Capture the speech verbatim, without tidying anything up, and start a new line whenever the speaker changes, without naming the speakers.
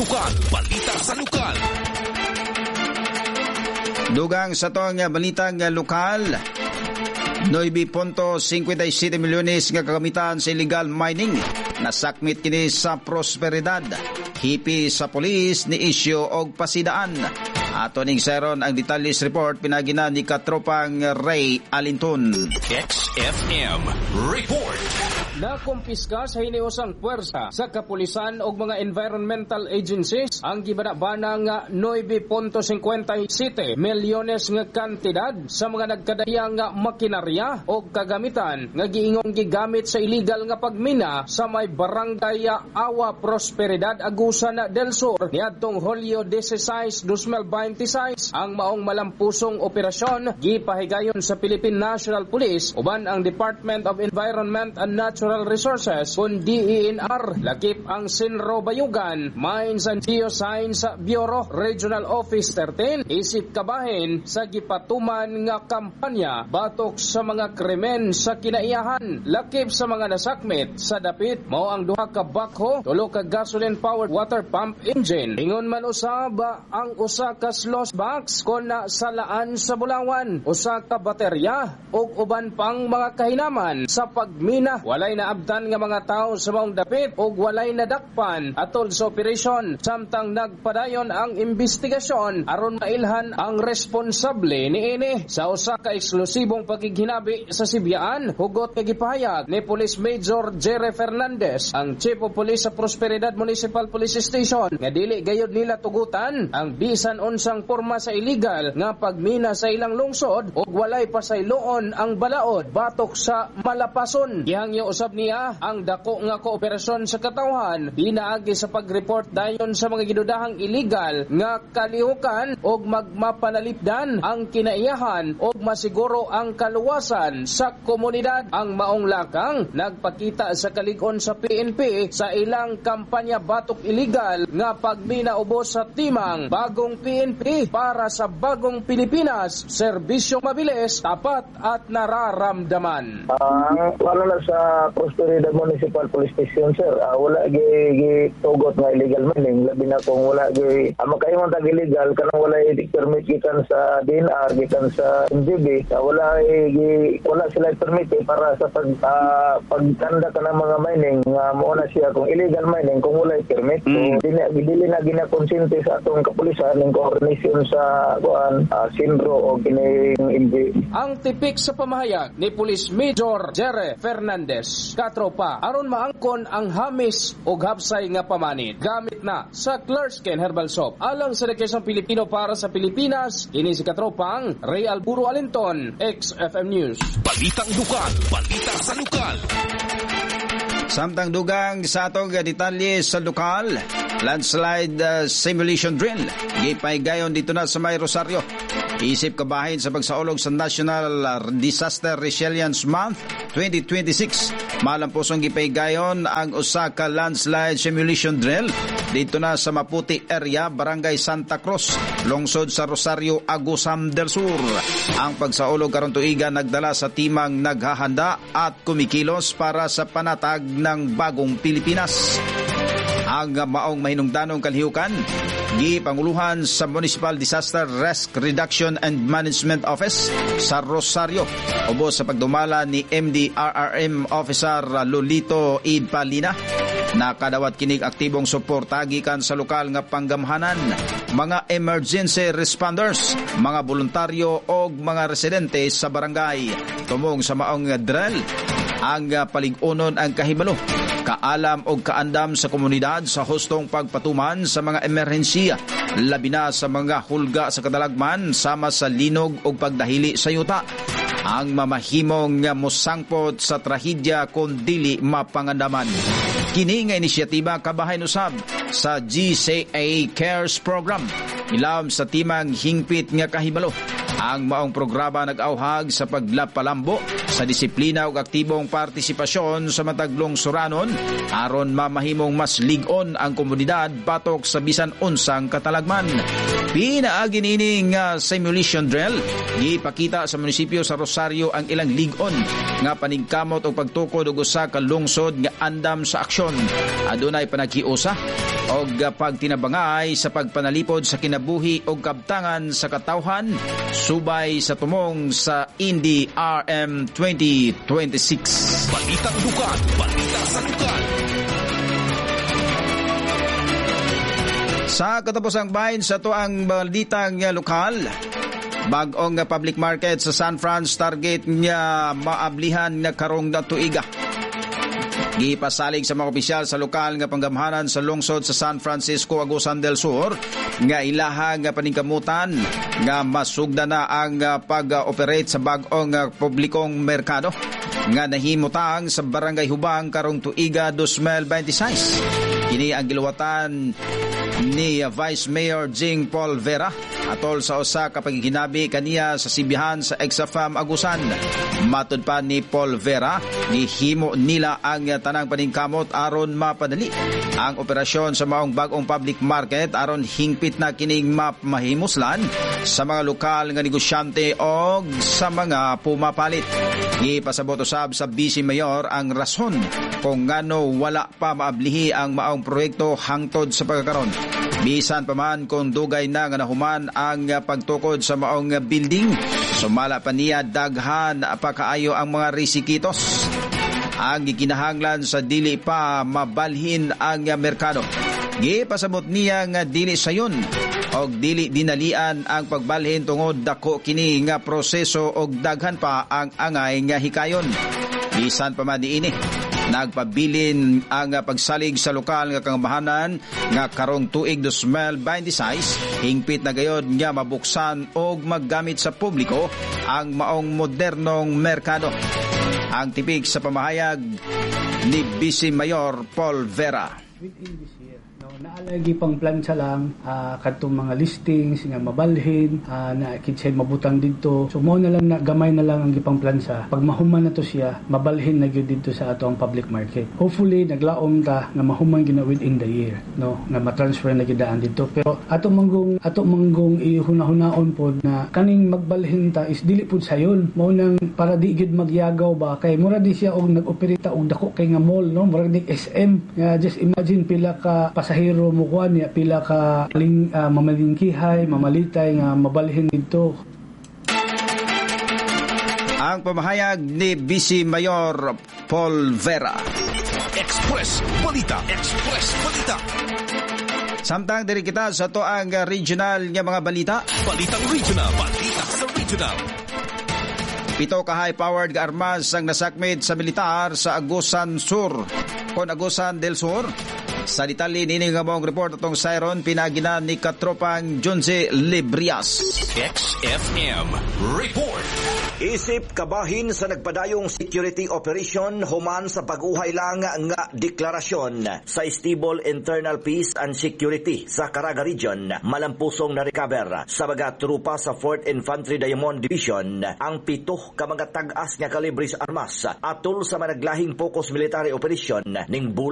Lokal, balita sa lokal.
Dugang sa atong balitang lokal, nuwebe punto singkwenta y siyete milyones nga kagamitan sa illegal mining nasakmit kini sa Prosperidad. Hepe sa polis ni isyu og pasidaan. Ato ning seron ang detalyes report pinaagi na ni katropang Ray Alinton.
X F M Report.
Nakumpiska sa hiniusang puwersa sa kapulisan og mga environmental agencies ang gibana-bana nga nuwebe punto singkwenta y siyete milyones nga kantidad sa mga nagkadayang nga makinarya o kagamitan nga giingong gigamit sa illegal nga pagmina sa may barangay Awa, Prosperidad, Agusan del Sur niadtong Hulyo labing-sais, dalawang libo beinte sais. Ang maong malampusong operasyon gipahigayon sa Philippine National Police uban ang Department of Environment and Natural Resources kun D E N R, lakip ang Cenro Bayugan, Mines and Geoscience Bureau Regional Office thirteen, isip kabahin sa gipatuman nga kampanya batok sa mga krimen sa kinaiyahan. Lakip sa mga nasakmit sa dapit mao ang duha ka backhoe, tulo ka gasoline powered water pump engine. Ingon man usab ang usa ka sluice box kon na salaan sa bulawan, usa ka baterya ug uban pang mga kahinaman sa pagmina. Walay naabtan nga mga tawo sa maong dapit ug walay nadakpan atol sa operasyon samtang nagpadayon ang investigasyon aron mailhan ang responsable niini. Sa usa ka eksklusibong pakighinabi sa Sibyaan, hugot nga gipahayag ni Police Major Jerry Fernandez, ang Chief of Police sa Prosperidad Municipal Police Station, nga dili gayud nila tugutan ang bisan unsang porma sa illegal nga pagmina sa ilang lungsod ug walay pasayloon ang balaod batok sa malapason. Gihangyo usab niya ang dako nga kooperasyon sa katawhan pinaagi sa pag-report dayon sa mga gidudahang illegal nga kalihukan ug magmapanalipdan ang kinaiyahan ug masiguro ang kaluwasan sa komunidad. Ang maong lakang nagpakita sa kalig-on sa P N P sa ilang kampanya batok illegal nga pagmina ubos sa timang Bagong P N P para sa Bagong Pilipinas, serbisyong mabilis, tapat at nararamdaman.
Ang ano na sa Prosperidad Municipal Police Station, sir, ah, wala gi gitugot nga illegal mining, labi na kung wala gi ah, makaingon tag illegal kanang wala permit gikan sa D E N R, gikan sa M G B, ah, wala gi wala sila permit eh, para sa pag ah, pagtanda ka ng mga mining nga mo na siya kung illegal mining kung wala permit. So
Mm.
dili dili na ginakonsente sa atong kapulisan ning coordination sa kuan uh, CENRO o kining M G.
Ang tipik sa pamahayag ni Police Major Jerry Fernandez. Katropa, aron maangkon ang hamis o hapsay nga pamanid, gamit na sa Clearskin Herbal Soap. Alang sa Quezon Pilipino para sa Pilipinas, kini si Katropang Ray Alburo Alinton, X F M News.
Balitang lokal, balita sa lokal.
Samtang dugang sa atong detalye sa lokal, landslide uh, simulation drill gipahigayon didto na sa May Rosario. Isip kabahin sa pagsaulog sa National Disaster Resilience Month twenty twenty-six, malampusong gipahigayon ang usa ka landslide simulation drill didto na sa Maputi area, Barangay Santa Cruz, lungsod sa Rosario, Agusan del Sur. Ang pagsaulog karon tuiga nagdala sa timang naghahanda at kumikilos para sa panatag ng Bagong Pilipinas. Ang maong mahinungdanong kalihukan gipanguluhan sa Municipal Disaster Risk Reduction and Management Office sa Rosario, ubos sa pagdumala ni M D R R M Officer Lolito Idpalina. Nakadawat kinig aktibong suporta gikan sa lokal nga panggamhanan, mga emergency responders, mga voluntaryo og mga residente sa barangay. Tumong sa maong drill, ang palig-unon ang kahibalo, kaalam og kaandam sa komunidad sa hustong pagpatuman sa mga emerhensiya, labi na sa mga hulga sa kadalagman sama sa linog og pagdahili sa yuta, ang mamahimong nga mosangpot sa trahedya kung dili mapangandaman. Kini nga inisyatiba kabahin usab sa G C A Cares Program. Ilawom sa timang Hingpit nga Kahibalo. Ang maong programa nag-auhag sa paglapalambo sa disiplina ug aktibong partisipasyon sa matag lungsuranon aron mamahimong mas lig-on ang komunidad batok sa bisan unsang katalagman. Pinaagi niining uh, simulation drill, gipakita sa munisipyo sa Rosario ang ilang lig-on nga paningkamot og pagtukod og usa ka lungsod nga andam sa aksyon. Adunay panaghiusa og pagtinabangay sa pagpanalipod sa kinabuhi og kabtangan sa katawhan subay sa tumong sa N D R M twenty twenty-six.
Balitang lokal, balita sa lokal.
Sa katapusang bahin sa atoang balitang lokal, bag-ong public market sa San Fran target nga maablihan nga karong tuiga. Gipasalig sa mga opisyal sa lokal nga panggamhanan sa lungsod sa San Francisco, Agusan del Sur nga ilaha nga paningkamutan nga masugda na ang pag-operate sa bag-ong publikong merkado nga nahimutang sa Barangay Hubang karong tuiga twenty twenty-six. Kini ang giluwatan ni Vice Mayor Jing Paul Vera atol sa usa ka pagkinabi kaniya sa sibihan sa Exafam Agusan. Matud pa ni Paul Vera, gihimo nila ang tanang paningkamot aron mapadali ang operasyon sa maong bag-ong public market aron hingpit na kining mahimuslan sa mga lokal nga negosyante og sa mga pumapalit. Gipasabot usab sa Vice Mayor ang rason kung ngano wala pa maablihi ang maong proyekto hangtod sa pagkakaron. Bisan pa man kung dugay na nga nahuman ang pagtukod sa maong building, sumala pa niya daghan pa kaayo ang mga risikitos ang gikinahanglan sa dili pa mabalhin ang merkado. Gipasabot niya nga dili sayon og dili dinalian ang pagbalhin tungod dako kini nga proseso og daghan pa ang angay nga hikayon. Bisan pa man niini, nagpabilin ang pagsalig sa lokal nga kangamahanan nga karong tuig twenty twenty-six hingpit na gayod nga mabuksan og maggamit sa publiko ang maong modernong merkado. Ang tipik sa pamahayag ni Vice Mayor Paul Vera.
Within this year, no, naalagi pang plancha lang uh, kadtong mga listings nga mabalhin uh, na kinsay mabutang didto. So mo na lang na gamay na lang ang gipang plancha. Pag mahuman na to siya, mabalhin na gyud didto sa ato ang public market. Hopefully naglaom ta nga mahuman gyud na within the year, no, nga ma-transfer na gyud daan didto. Pero ato manggong ato manggong ihuna-hunaon pod na kaning magbalhin ta is dili pud sayon. Mao nang para di gyud magyagaw ba kay mura di siya og nag-operate og dako kay nga mall, no, mura di S M. Nga just imagine pila ka pasahero mo kuan niya, pila ka ling, uh, mamalingkihay, mamalitay nga mabalhin didto.
Ang pamahayag ni Vice Mayor Paul Vera.
Express Balita, Express Balita.
Samtang diri kita sa to ang regional nga mga balita.
Balitang regional, balita sa regional.
Pito ka high-powered nga armas ang nasakmit sa militar sa Agusan Sur kon Agusan del Sur. Sa detalye nini nga mong report atong siron pinagina ni katropang Junze Librias.
X F M Report.
Isip kabahin sa nagpadayong security operation human sa pag-uhay lang nga deklarasyon sa Stable Internal Peace and Security sa Caraga Region, malampusong na-recover sa mga trupa sa fourth Infantry Diamond Division ang pito ka mga tag-as nga kalibres armas atol sa managlahing focus military operation ning